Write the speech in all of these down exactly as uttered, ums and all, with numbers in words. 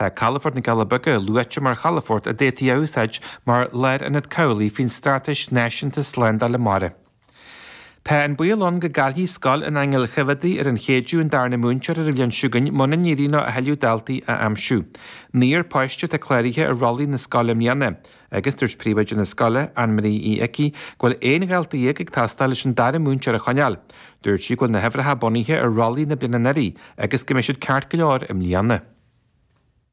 Tá Calafort na gCealla Beaga luaite mar chalafort a d'fhéadfaí a úsáid mar lárionad cabhlaigh faoin Straitéis Náisiúnta Slándála Mara. Tá an baol ann go gcaillfidh Scoil an Aingil Choimheadaigh ar an Chéideadh an darna múinteoir ar an bhliain seo chugainn muna n-éiríonn leo a thuilleadh daltaí a aimsiú. Naonúr páiste atá cláraithe ar rollaí na scoile i mbliana, agus dúirt príomhoide na scoile, Anne-Marie Uí Icí, go bhfuil aon dhalta dhéag ag teastáil leis an dara múinteoir a choinneáil. Dúirt sí go bhfuil na huimhreacha bunaithe ar rollaí na bliana anuraidh agus go mbeidh siad ceart go leor i mbliana.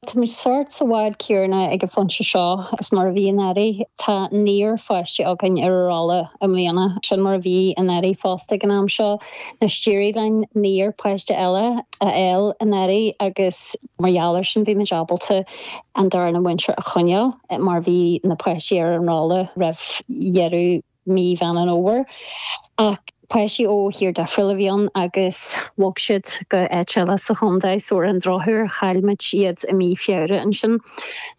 Táimid sórt sa bhád céanna ag an phointe seo is mar a bhí anuraidh. Tá naonúr pháistí againn ar an rolla i mbliana. Sin mar a bhí anuraidh fosta ag an am seo. Anois d'éirigh linn naonúr páiste eile a fháil anuraidh agus mar gheall air sin bhí muid ábalta an darna múinteoir a choinneáil mar bhí na páistí ar an rolla roimh dheireadh mí Mheán an Fhómhair. Ach páistí ó thír difriúil a bhí ann agus bhog siad go áit eile sa chontae so ar an drochuair chaill muid iad i mí Feabhra ansin.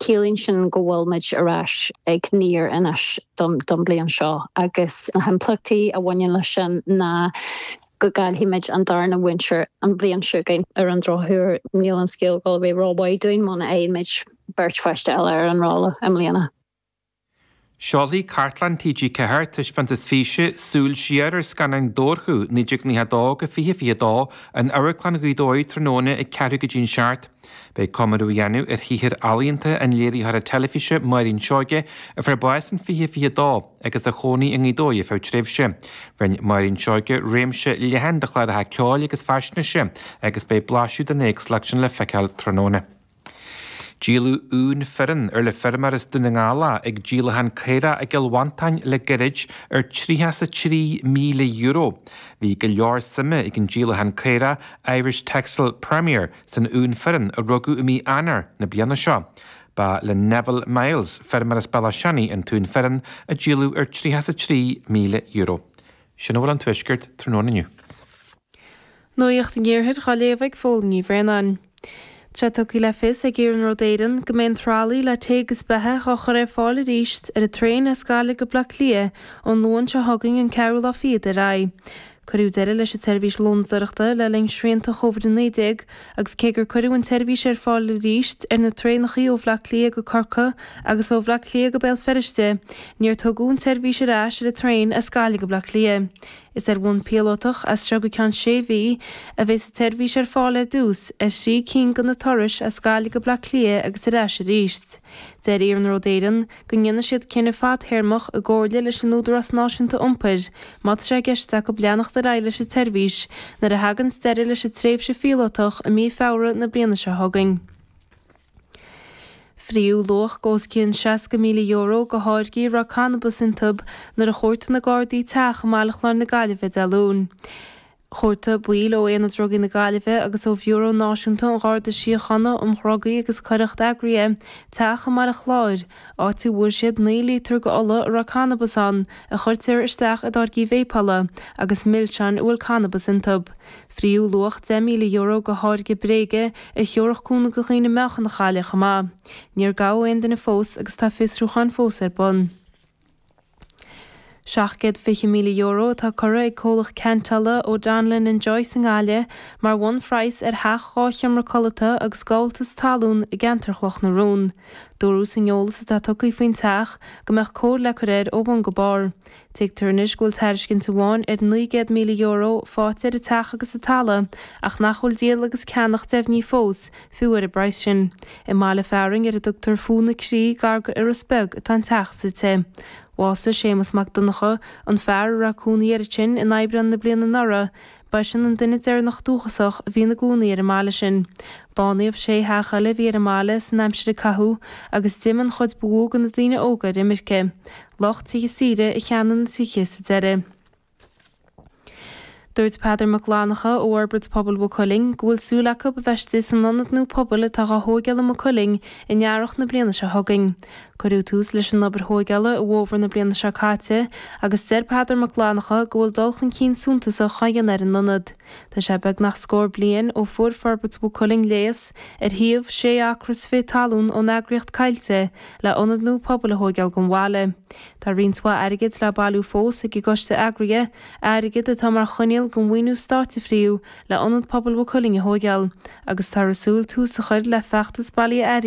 Ciallaíonn sin go bhfuil muid ar ais ag naonúr anois don don bliain seo agus na himpleachtaí a bhaineann leis sin ná go gcaillfimid an darna múinteoir an bhliain seo chugainn. Ar an drochuair níl an scéal ag dul a bheith rómhaith dúinn muna fhaigheann muid beirt pháiste eile ar an rolla i mbliana. Seolfaidh Cartlann T G ceathair taispeántas físe Súil Siar ar scannáin Dobharchú naoi déag nócha a dó go fiche fiche a dó in Amharclann Ghaoth Dobhair tráthnóna ag ceathrú go dtí an seacht. Beidh comóradh á dhéanamh ar shaothar ealaíonta an léiritheora teilifíse Máirín Seoige a fuair bás in fiche fiche a dó agus a chónaigh i nGaoth Dobhair ar feadh tréimhse. Rinne Máirín Seoige réimse leathan de chláracha ceoil agus faisnéise agus beidh blaiseadh den éagsúlacht sin le feiceáil tráthnóna. Díoladh uan fireann ar le feirmeoir as Dún na nGall ag díolachán caorach i gCill Mhantáin le gairid ar tríocha is a trí míle euro. Bhí go leor suime ag an díolachán caorach Irish Texel Premier san uan fireann a rugadh i mí Eanáir na bliana seo. Ba le Neville Miles, feirmeoir as Bealach Seanaidh, an t-uan fireann a díoladh ar tríocha is a trí míle euro. Sin a bhfuil an tuaisceart tráthnóna inniu. Nuacht an Iarthair á léamh ag Fódhla Ní Bhraonáin. Tá tugtha le fios ag Iarnród Éireann go mbeidh an tralaí le tae agus beatha á chur ar fáil arís ar an traein as Gaillimh go Bleá Cliath ón Luan seo chugainn an ceathrú lá fichead ar aghaidh. Cuireadh deireadh leis an tseirbhís lónadóireachta le linn srianta Covid a naoi déag agus cé gur cuireadh an tseirbhís ar fáil arís ar na traenacha ó Bhleá Cliath go Corcaigh agus ó Bhleá Cliath go Béal Feirste, níor tugadh an tseirbhís ar ais ar an traein as Gaillimh go Bleá Cliath. Is ar bhonn píolótach as seo go ceann sé mhí a bheas an tseirbhís ar fáil ar dtús ar thrí cinn de na turais as Gaillimh go Bleá Cliath agus ar ais arís. Deir Iarnród Éireann go ndéanfaidh siad cinneadh fadtéarmach i gcomhairle leis an Údarás Náisiúnta Iompair má tá sé i gceist acu leanacht ar aghaidh leis an tseirbhís nuair a thagann deireadh leis an tréimhse phíolótach i mí Feabhra na bliana seo chugainn. Fríodh luach os cionn seasca míle euro de tháirgí a raibh cannabas iontu nuair a chuartaigh na Gardaí teach i mBaile Chláir na Gaillimhe Dé Luain. Chuartaigh baill ó Aonad Drugaí na Gaillimhe agus ó Bhiúró Náisiúnta an Gharda Síochána um Dhrugaí agus Coireacht Eagraithe teach i mBaile Chláir, áit a bhfuair siad naoi lítear de ola a raibh cannabas ann a chuirtear isteach i dtáirgí véipeála agus milseáin a bhfuil cannabas iontu. Fríodh luach deich míle euro de tháirge bréige a thiúrfadh cúnamh do dhaoine meáchan a chailleadh chomh maith. Níor gabhadh aon duine fós agus tá fiosrúchán fós ar bun. Seacht gcéad fiche míle euro atá curtha ag comhlacht ceantála O'Donnellan and Joyce i nGaillimh mar bhunphraghas ar theach dhá sheomra codlata agus gabháltas talún i gceantar Chloch na Rón. Dúradh san eolas atá tugtha faoin teach go mbeadh cóir le cur air ó bhun go barr. Tuigtear anois go bhfuil tairiscint amháin ar naoi gcéad míle euro faighte ar an teach agus an talamh ach nach bhfuil díol agus ceannach deimhnithe fós, fiú ar an bpraghas sin. I mbaile fearainn ar a dtugtar Fún na Crí gar go Iorras Beag atá an teach suite. Bhásaigh Séamus Mac Donncha, an fear a raibh cónaí air ansin in Aibreán na bliana anuraidh, b'eisean an duine deireanach dúchasach a bhí ina gcónaí ar an mbaile sin. Bánaíodh sé theach eile a bhí ar an mbaile san aimsir a caitheadh agus d'imigh an chuid ba mhó de na daoine óga ar imirce. Lucht tithe saoire a cheannaigh na tithe sa deireadh. Dúirt Peadar Mac Fhlannchadha ó Fhorbairt Pobail Mhaigh Cuilinn go bhfuil súil acu a bheith istigh san ionad nua pobail atá á thóigeáil i Maigh Cuilinn in earrach na bliana seo chugainn. Cuireadh tús leis an obair thóigeála i bhfómhar na bliana seo caite agus deir Peadar Mac Fhlannchadha go bhfuil dul chun cinn suntasach á dhéanamh ar an ionad. Tá sé beagnach scór bliain ó fuair Forbairt Mhaigh Cuilinn léas ar shuíomh sé acra is fiche talún ón eagraíocht Coillte le ionad nua pobail a thóigeáil don bhaile. Tá roinnt mhaith airgid le bailiú fós ag an gcoiste eagraithe, airgead atá mar choinníoll coinníoll go mhaoiniú stáit a fríú le ionad pobail Mhaigh Cuilinn a thóigeáil, agus táthar ag súil tús a chur le feachtas bailithe airgid